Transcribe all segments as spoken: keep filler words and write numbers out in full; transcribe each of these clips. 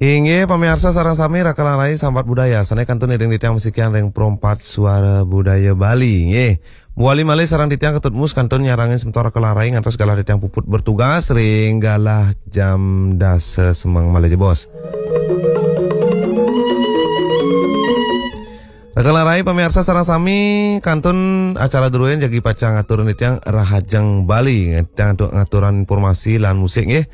Inggih, pamiarsa sareng sami, Raka lan Rai sambat budaya. Sané kantun iring titiang masikian ring Pro empat Suara Budaya Bali. Inggih. Mawali malih sareng titiang Ketut Mus kantun nyarengin semeton Raka lan Rai ngantos galah titiang puput bertugas ring galah jam dasa semeng malih jebos. Raka lan Rai pamiarsa sareng sami, kantun acara druéné jagi pacang aturang titiang Rahajeng Bali. Titiang ngatur-, ngaturang informasi lan musik nggih.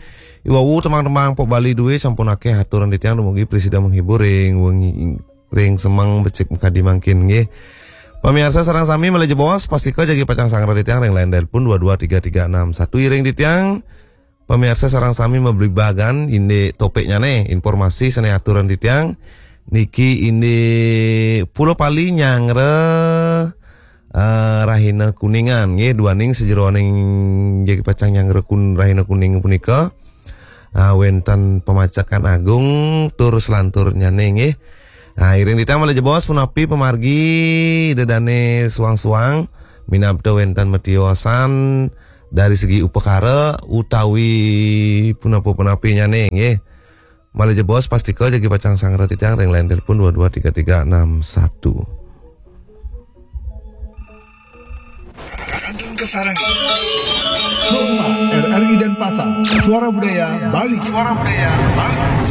Iwau tembang-tembang pop Bali drué sampun akéh aturang titiang dumugi prasida menghibur ring wengi ring semeng becik makadi mangkin nggih. Pamiarsa sareng sami malih jebos, pastika jagi pacang sangra titiang ring line telepon dua dua tiga tiga enam satu iring titiang. Pamiarsa sareng sami mabligbagan indik topiknyané, informasi sané aturang titiang. Niki indik Pulau Pali nyanggra, eh, Rahina Kuningan nggih, duaning sajeroning jagi pacang nyanggra kun-, Rahina Kuning punika, ah, wénten pamacekan agung tur selanturnyané nggih. Ah, iring titiang malih jebos punapi pamargi Ida Dané suang-suang, minab wénten matiosan dari segi upakara utawi punapa-punapinyané nggih. Malih jebos pastika jagi pacang sangra titiang ring line telepon dua dua tiga tiga enam satu. Kantun kasarengin. Rumah R R I Denpasar, Suara Budaya Bali. Suara Budaya Bali.